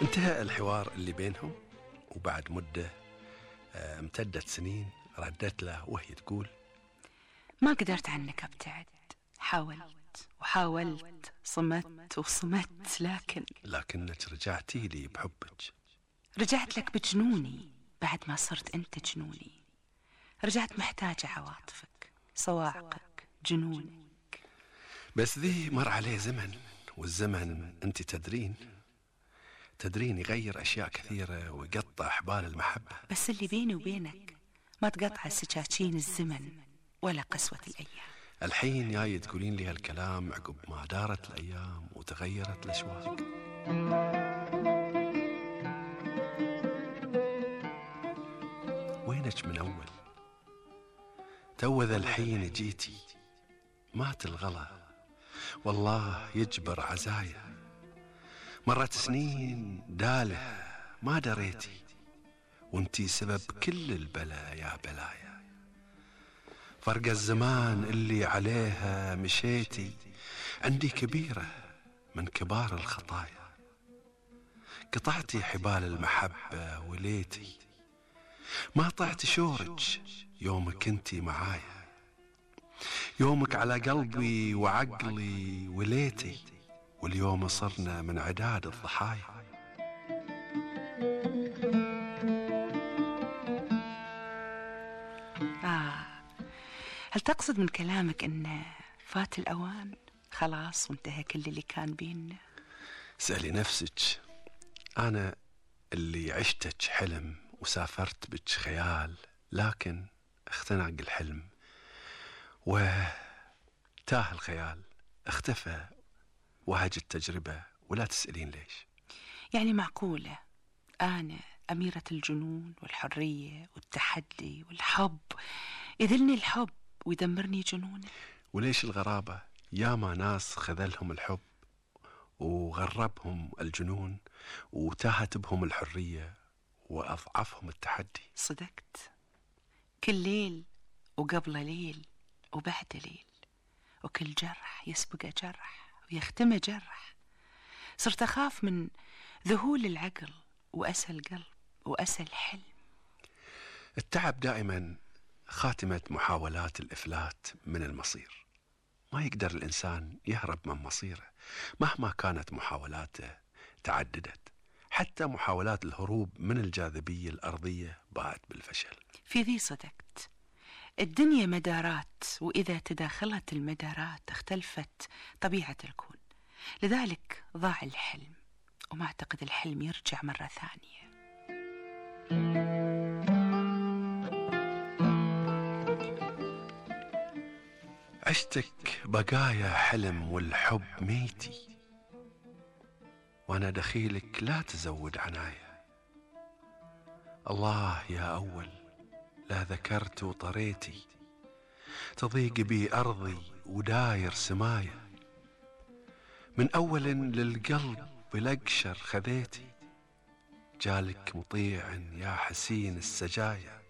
انتهى الحوار اللي بينهم، وبعد مدة امتدت سنين ردت له وهي تقول: ما قدرت عنك أبتعد، حاولت وحاولت، صمت وصمت، لكنك رجعتي لي بحبك. رجعت لك بجنوني بعد ما صرت أنت جنوني. رجعت محتاجة عواطفك، صواعقك، جنونك. بس ذي مر عليه زمن، والزمن انت تدرين يغير أشياء كثيرة ويقطع حبال المحبة. بس اللي بيني وبينك ما تقطع سكاكين الزمن ولا قسوة الأيام. الحين جاي تقولين لي هالكلام عقب ما دارت الأيام وتغيرت الأشواق. وينك من أول؟ توذا الحين جيتي، مات الغلا والله يجبر عزايا. مرت سنين داله ما دريتي، وانتي سبب كل البلا يا بلايا. فرق الزمان اللي عليها مشيتي عندي كبيرة من كبار الخطايا. قطعتي حبال المحبة وليتي، ما طعت شورج يومك انتي معايا. يومك على قلبي وعقلي وليتي، واليوم صرنا من عداد الضحايا. هل تقصد من كلامك إن فات الأوان خلاص وانتهى كل اللي كان بيننا؟ سألي نفسك، أنا اللي عشتك حلم وسافرت بك خيال، لكن اختنق الحلم وتاه الخيال، اختفى وهج التجربة. ولا تسألين ليش. يعني معقولة أنا أميرة الجنون والحرية والتحدي والحب يذلني الحب ويدمرني جنونه؟ وليش الغرابة؟ ياما ناس خذلهم الحب وغربهم الجنون وتاهت بهم الحرية وأضعفهم التحدي. صدقت، كل ليل وقبل ليل وبعد ليل، وكل جرح يسبق جرح ويختم جرح. صرت أخاف من ذهول العقل وأسى القلب وأسى الحلم. التعب دائما خاتمة محاولات الإفلات من المصير. ما يقدر الإنسان يهرب من مصيره مهما كانت محاولاته تعددت. حتى محاولات الهروب من الجاذبية الأرضية باءت بالفشل. في ذي صدقت. الدنيا مدارات، وإذا تداخلت المدارات اختلفت طبيعة الكون. لذلك ضاع الحلم، وما أعتقد الحلم يرجع مرة ثانية. عشتك بقايا حلم والحب ميتي، وانا دخيلك لا تزود عناية. الله يا اول لا ذكرت وطريتي، تضيق بي ارضي وداير سمايا. من اول للقلب بالاقشر خذيتي، جالك مطيع يا حسين السجايا.